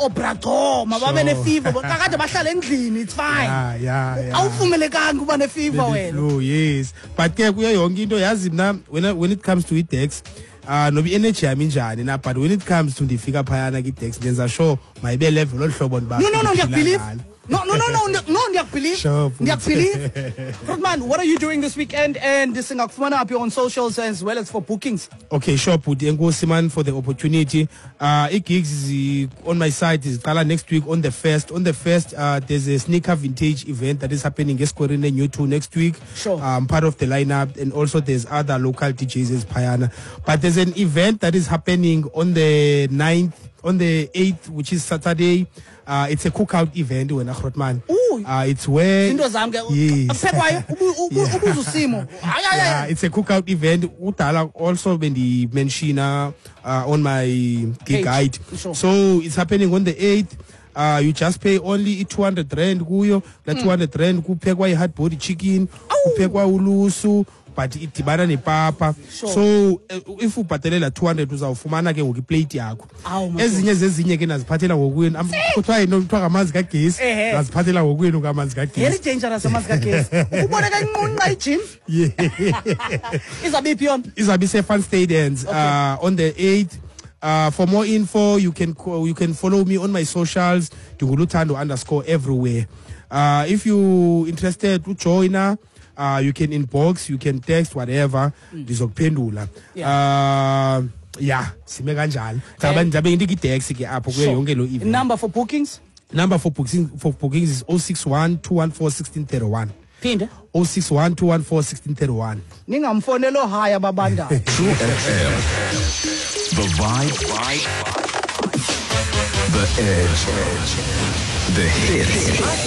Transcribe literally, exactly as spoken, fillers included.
Obragoma babe ne-fever, kakade bahlala endlini, it's fine. Yeah, yeah, yeah. Awuvumelekanga uba ne-fever wena. Flu, yes, but ke kuyo yonke into, yazi mna when, when it comes to i-dex, uh noba i-energy yami injani na, but when it comes to ndifika phayana kwi-dex, ndenza sure mayibe level olu hlobo ndiba No, no, no, ndiphila ndiyakubelieve. ngalo. No, no, no, no, no, ndiyakubelieve. Sure, bhuti. Ndiyakubelieve. Grootman, what are you doing this weekend, and singakufumana phi on socials as well as for bookings? Okay, sure, bhuti. Enkosi man for the opportunity. Uh i-gigs zi- on my side ziqala next week on the first. On the first, uh, there's a sneaker vintage event that is happening esikoreni New two next week. Sure. Um, part of the lineup, and also there's other local D Js as phayana. But there's an event that is happening on the ninth, on the eighth, which is Saturday. Uh, it's a cookout event wena Grootman. Ooh. Uh, it's where Into zam ke Yes. akuphekwayo ubu- ubu- Yeah. ubuza usimo. Hayi, hayi, Yeah, hayi. it's a cookout event. Udala also bendimention uh, on my gig Page. guide. Sure. So it's happening on the eighth. Uh, you just pay only two hundred rand kuyo. La Mm. two hundred rand kuphekwa i-hard body chicken, Awu. kuphekwa ulusu, but idibana nepapa. Sure. So eh, if ubhatalela two hundred uzawufumana ke ngoku iplate yakho. Awu, madoda. Ezinye zezinye ke naziphathela ngokwenu. Am- Kuthiwa yini kuthiwa ngamanzi kagesi. Ehhe. Naziphathela ngokwenu ngamanzi kagesi. Very dangerous amanzi kagesi. Ukuboneka inqunqa ijim. Yeah. Izabe iphi yona? Izabe ise-Fun Stadiums, Okay. uh, on the eighth. Uh, for more info, you can co-, you can follow me on my socials, Ndinguluthando underscore everywhere. Uh, if you interested to join, uh, you can inbox, you can text, whatever. Mm. Ndizokuphendula. Yeah. Uh, yeah, sime kanjalo. Eh. Ndabe ndike i-dex ke apho kuyo Sure. yonke lo event. Number for bookings? Number for bookings, for bookings is oh six one, two one four, sixteen thirty one. Phinde. oh six one, two one four, sixteen thirty one. Ningamfonelo haya babandayo. True F M. The vibe. The edge. The hits.